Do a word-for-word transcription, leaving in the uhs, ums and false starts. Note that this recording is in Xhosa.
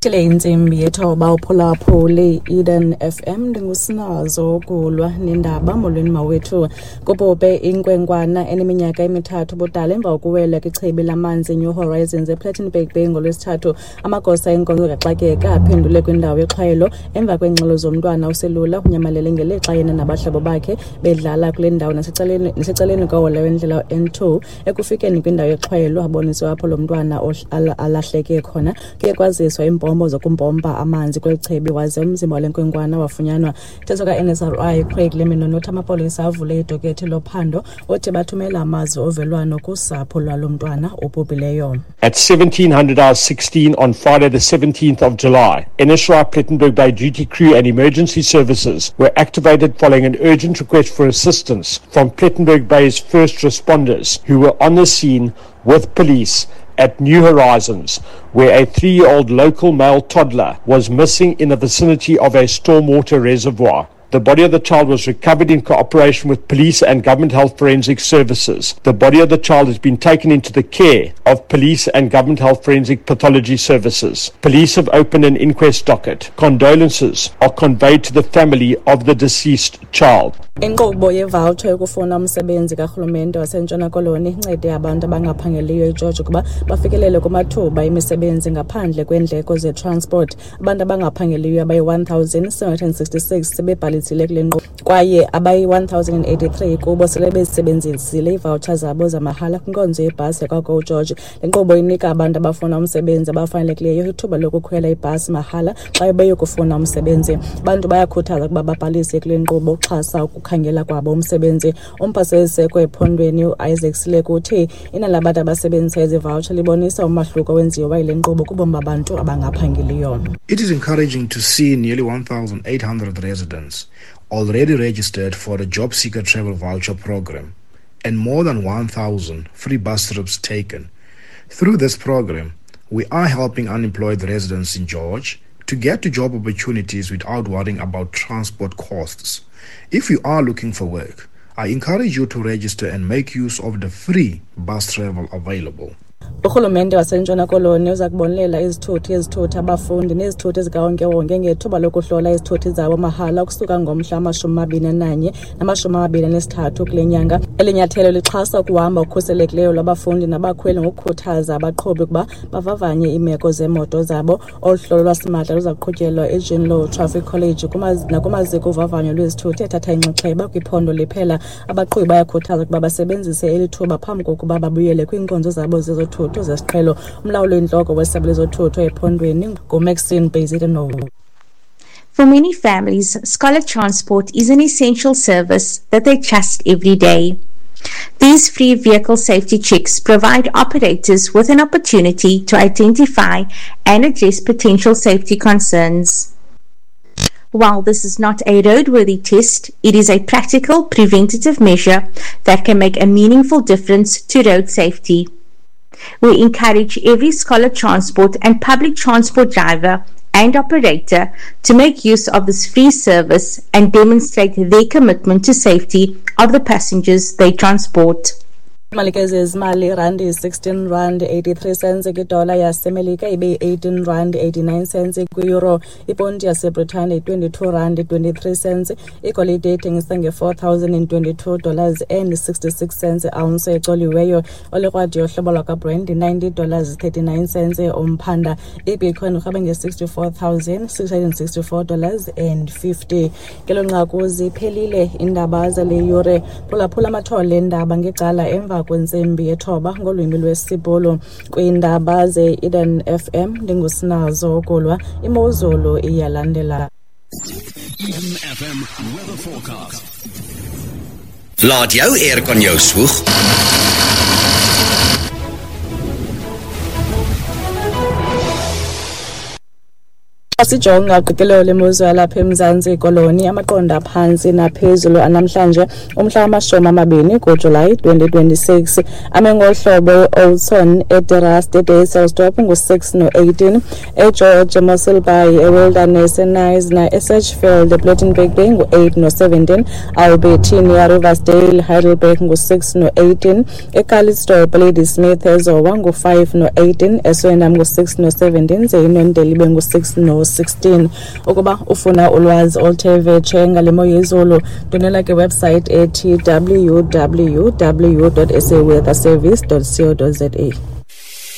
Le intsimbi yethoba uphulaphule Eden F M, ndingusinazo ukulwa nendaba. Molweni mawethu. Kubhubhe inkwenkwana eneminyaka emithathu ubudala emva kokuwela kwichibi lamanzi New Horizons ePlettenberg Bay ngoLwesithathu. Amagosa enkonzo kaxakeka aphendule kwindawo yexhwayelo emva kweengxelo zomntwana oselula unyamalele ngelixa yena nabahlobo bakhe bedlala kule ndawo nasecaleni nasecaleni kohola wendlela N two. Ekufikeni kwindawo yexhwayelo aboniswe apho lo mntwana alahleke khona. Kuye kwaziswa iimpompo zokumpompa amanzi kweli chibi waze umzimba wale nkwenkwana wafunyanwa. Mthetho ka-N S R I Craig Lemino uthi amapolisa avule idokethi lophando, othi bathumela amazwi ovelwano kusapho lwalo mntwana obhubhileyo. At seventeen hundred hours sixteen on Friday the seventeenth of July, N S R I Plettenberg Bay duty crew and emergency services were activated following an urgent request for assistance from Plettenberg Bay's first responders, who were on the scene with police at New Horizons, where a three-year-old local male toddler was missing in the vicinity of a stormwater reservoir. The body of the child was recovered in cooperation with police and government health forensic services. The body of the child has been taken into the care of police and government health forensic pathology services. Police have opened an inquest docket. Condolences are conveyed to the family of the deceased child. Inkqubo yevoucher yokufuna umsebenzi karhulumente waseNtshona Koloni incede abantu abangaphangeliyo eGeorge ukuba bafikelele kumathuba emisebenzi ngaphandle kweendleko zetransport. Abantu abangaphangeliyo abayi-one thousand seven hundred sixty-six sebebhalisile kule nkqubo kwaye abayi-one thousand eighty-three kubo sele bezisebenzisile iivoucher zabo zamahala kwinkonzo yebhasi yakwaGo George. Le nkqubo inika abantu abafuna umsebenzi abafanelekileyo ithuba lokukhwela ibhasi mahala xa beyokufuna umsebenzi. Abantu bayakhuthazwa ukuba babhalise kule nkqubo ukuxhasa ukukhangela kwabo umsebenzi. Umphathiswa weziseko ephondweni uIsaac Sileku uthi inani labantu abasebenzisa ezi voucher libonisa umahluko owenziwa yile nkqubo kubomi babantu abangaphangeliyo. It is encouraging to see nearly one thousand eight hundred residents already registered for the Job Seeker Travel Voucher Program and more than one thousand free bus trips taken. Through this program, we are helping unemployed residents in George to get to job opportunities without worrying about transport costs. If you are looking for work, I encourage you to register and make use of the free bus travel available. Urhulumente waseNtshona Koloni uza kubonelela izithuthi ezithutha abafundi nezithuthi zikawonkewonke ngethuba lokuhlola izithuthi zabo mahala ukusuka ngomhla wamashumi amabini ananye namashumi amabini anesithathu kule nyanga. Eli nyathelo lixhasa ukuhamba okukhuselekileyo lwabafundi nabakhweli ngokukhuthaza abaqhubi ukuba bavavanye iimeko zeemoto zabo. Olu hlolo lwasimahla luza kuqhutyelwa eJean Louw Traffic College nakumaziko ovavanyo lwezithuthi ethatha inxaxheba kwiphondo liphela. Abaqhubi bayakhuthazwa ukuba basebenzise eli thuba phambi kokuba babuyele kwiinkonzo zabo zezothutho zesiqhelo. Umlawuli oyintloko wesebe lezothutho ephondweni nguMaxine Bezuidenhout. For many families, scholar transport is an essential service that they trust every day. These free vehicle safety checks provide operators with an opportunity to identify and address potential safety concerns. While this is not a roadworthy test, it is a practical preventative measure that can make a meaningful difference to road safety. We encourage every scholar transport and public transport driver and operator to make use of this free service and demonstrate their commitment to safety of the passengers they transport. Imali ke zezimali, irandi yi-sixteen rand eighty-three cents kwidola yaseMelika, ibe yi-eighteen rand eighty-nine cents kwi-euro. Iponti yaseBritane yi-twenty-two rand twenty-three cents. Igolide ithengisa nge-four thousand and twenty-two dollars and sixty-six cents ounce ecoliweyo. Olikrwadi yohlobo lwakwaBrent yi-ninety dollars thirty-nine cents umphanda. Ibitcoin urhabe nge-sixty-four thousand six hundred and sixty-four dollars and fifty. Ngelo nqaku ziphelile iindaba zale yure. Phulaphula amathole eendaba ngecala emva kwentsimbi yethoba ngolwimi lwesiBhulu. Kwiindaba ze-Eden F M, ndingusinazo ukulwa. Imozulu iyalandela. Eden F M weather forecast. Laat jou aircon jou swoeg. Xa sijonga qikelelo lemozulu yalapha eMzantsi Koloni, amaqondo aphantsi naphezulu anamhlanje umhla wamashumi amabini kuJulayi twenty twenty-six ame ngohlobo: e-Oudtshoorn, eDe Rust, eDysselsdorp ngu-six no-eighteen, eGeorge, eMossel Bay, eWilderness, eKnysna, eSedgefield, ePlettenberg Bay ngu-eight no-seventeen, Albertinia, Riversdale, Heidelberg ngu-six no-eighteen, eCalitzdorp, Ladysmith, eZowa ngu-five no-eighteen, eSwellendam ngu-six no-seventeen, ze iNondeli ibe ngu-six no-sixteen. Ukuba ufuna ulwazi oluthe vetshe ngale mo yezulu, ndwendwela ke website ethi W W W dot saweatherservice dot co dot za.